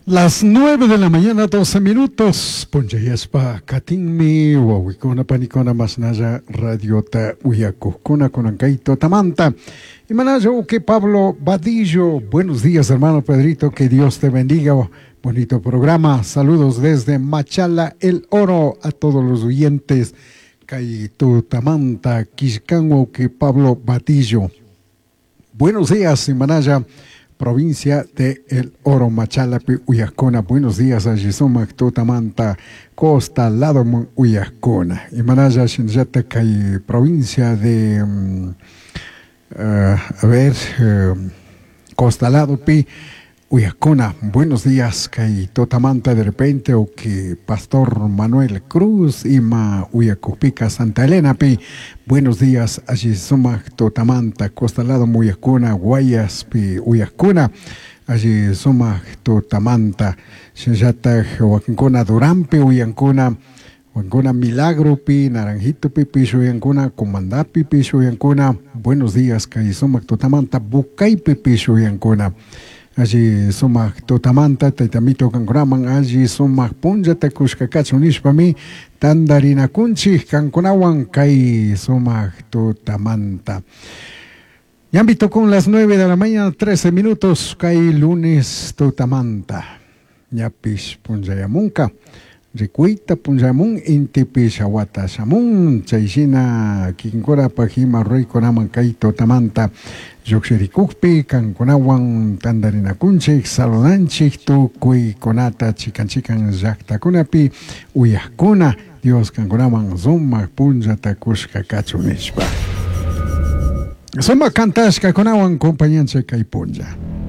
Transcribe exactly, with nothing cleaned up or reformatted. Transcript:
Las nueve de la mañana, doce minutos. Punchayashpa katinmi, wawikuna panikuna mashnalla radiota uyakukuna kunan tutamanta. Imanalla que Pablo Vadillo. Buenos días, hermano Pedrito, que Dios te bendiga. Bonito programa. Saludos desde Machala, El Oro, a todos los oyentes. Kay tutamanta, killkan que Pablo Vadillo. Buenos días, imanalla provincia de El Oro, Machalapi, uyajcuna. Buenos días, alli sumak tutamanta, Costa, lado uyajcuna. Imanalla, shinallata, kay provincia de, um, uh, a ver, uh, Costa ladopi, uyajcuna. Buenos días, kay tutamanta de repente, o que Pastor Manuel Cruz, ima uyacujpica, Santa Elena pi. Buenos días, alli sumak tutamanta, Costa lado uyajcuna, Guayas pi uyajcuna. Alli sumak tutamanta, shinallata wakinkuna Duranpi uyankuna, wakinkuna Milagro pi, Naranjito pi, pish uyankuna, Comandapi pish uyankuna. Buenos días, kay sumak tutamanta, Bucaypi pish uyankuna. Alli sumak tutamanta, taytamito kankunaman, alli sumak punllata kushka kachun nishpami, tandarinakunchik kankunawan kay sumak tutamanta. Ñambito con las nueve de la mañana, trece minutos, kay lunes tutamanta. Ñapish punllayamunka. Rikuita punllamun, intipish awata shamun, chayshina kikinkunapaj ima ruraykunaman kay tutamanta llukshirikukpi kankunawan tandarinakunchik, saludanchik tukuykunata chikan chikan llaktakunapi uyajkuna, Dios kankunaman sumak punllata kushka kachun nishpa. Sumak kantashkakunawan compañanchik kay punlla.